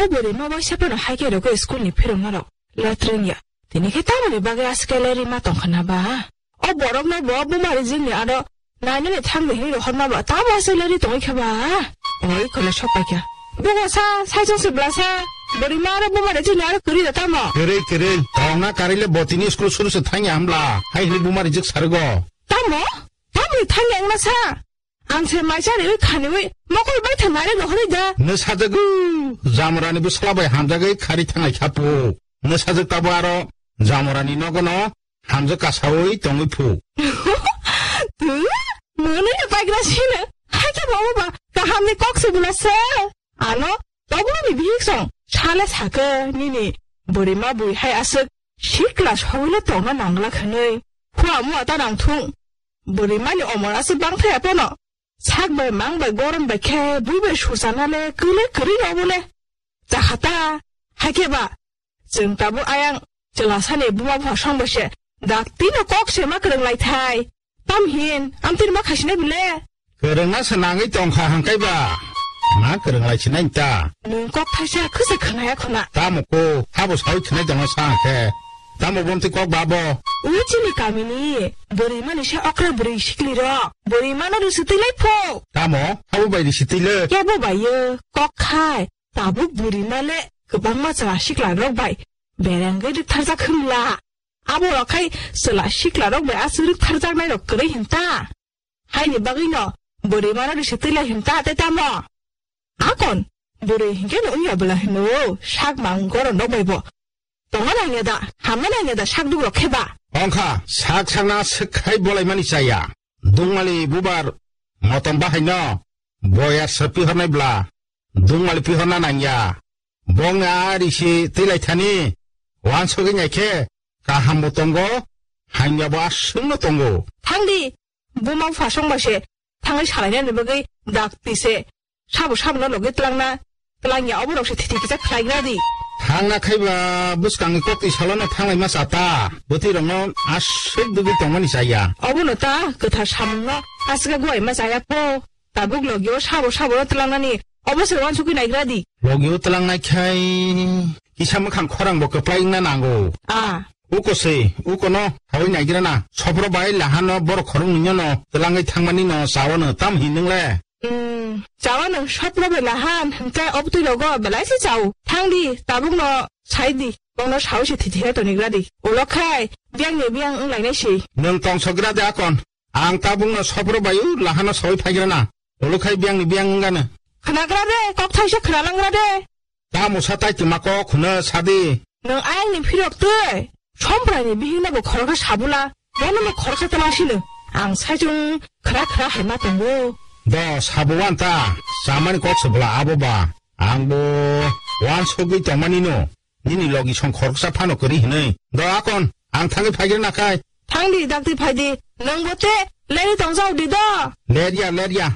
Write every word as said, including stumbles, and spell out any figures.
O bwrwi ma bai saphano hai khe rwgwi school ni phiroknarok letreng ya. Tini khe tamoni bagwi aske lerwi ma tongkha na ba? O borokno bo buma rijikni aro nainani thangwi hinwi rohorma ba tamo aske lerwi tongwi kha ba? Oi khwna sok paikha. Bugo sa, saichung se bwla sa, bwrwi ma aro buma rijikni aro kwrwi da tamo? Kwrwi, kwrwi. Tongna karile bo tini school suru se thangya hambla. Hai hinwi buma rijik sargo. Tamo? Tamoni thangya wngna sa? Ang se maisa riwi khaniwi mokol bai thang nari rohorwi da. Nwsajagw jamorani bwsla bai hamjagwi khari thanglai kha phu. Nwsajak tabo aro jamorani nogono hamjak kasawi tongwi phu. Twi, mwnwi no paikra sino. Hakhe bo ba kahamni kok se bwla se. Ano toboni bihik song sale sakhe nini bwrwi ma bui hai aswk sikla sogwino tongna nangla khanwi. Khua mua ta nang thung. Bwrwi mani omor aswk bang thaya pono. Sak bai mang bai goron bai khe bui bai sursana le kwle kwrwi obo le. Chakha ta, hakhe ba, chwng tabuk ayang chwla sani buma bupha song bai se, dak tino kok se ma kwrwng lai thai. Tam hin, amtwini ma khasina bile? Kwrwngna se nangwi tongkha hangkai ba. Ma kwrwng lai sinai ta. Nwng kok thaisa khwsa khwnaya khwna. Tamo ko, habo sawi khwnai tongna sa khe. Tamo bomti kok babo. Ui chini kamini, bwrwi mani se okra bwrwi sikli ro. Bwrwi mano rwswtwi lai pho. Tamo, habo bai rwswtwi le. Kebo bai yo, kok khai. Tabuk bwrwi male kwbangma chwla sikla rok bai berengwi rwktharjak hwnla. Abo rok khai chwla sikla rok bai aswk rwktharjaknai rok kwrwi hinta. Haini bagwi no bwrwi mano rwswtwi lai hinta tei tamo. Akon bwrwi hinkhe no wngya bwla hino sak mang goron rok bai bo. Tongna nangya da, hamna nangya da sak duk rok khe ba. Ongkha sak sakna swk khai bolai mani chaya. Dungmali bubar motom bahai no boyar se pihornai bwla. Dungmali pihorna nangya. Bongni a risi twilaithani. Wansugwi naikhe kahambo tongo, hamyabo aswkno tongo. Thangdi, buma bupha songbai se thangwi salainani bagwi dakti se. Sabo sabono logi twlangna, twlangya oborok se thiti kisa khlaigra di. Thangna khaiba bwskangni kokti salono thanglaima chata. Bwtwirokno aswk dugwi tongmani chaya. Obono ta kwthar samungno aswk guaima chaya pho. Tabuk logio sabo sabo no twlangnani obo se wansugwi naigra di. Logio twlangnai khai kisa mwkhang khorang bo kwplai wngna nango. A. Uko se, uko no hawi naigra na. Sopro bai lahano borok khoroknwi no twlangwi thangmani no chawano tam hin nwngle. Hmm, chawano sopro bai lahan hwnkhe obtwi rogo belai se chao. Thangdi, tabuk no sai di. Bono sawi se thiti he tonigra di. Ulo khai, biyang ni biyang wnglainai se. Nwng tongsogra de akon. Ang tabukno sopro bayu lahano sawi phaigrana. Olo khai biyangni biyang wngano. Khnagra de, kok thaisa khnalangra de. Tamo sa tai twma kok hwno sadi. Nwng ayangni phirok twi. Sompraini bihikno bo khoroksa sabula. Bono bo khoroksa twlangsino. Ang saichung khra khra hai ma tongo. Do sabo wan ta. Samani kok se bwla abo ba. Ang bo wan sogwi tongmani no. Nini logi song khoroksa phano kwrwi hwnwi. Do akon, ang thangwi phaigrana khai. Thangdi, dakti phaidi. Nwng bo te lerwi tongjao di do. Lerya, lerya.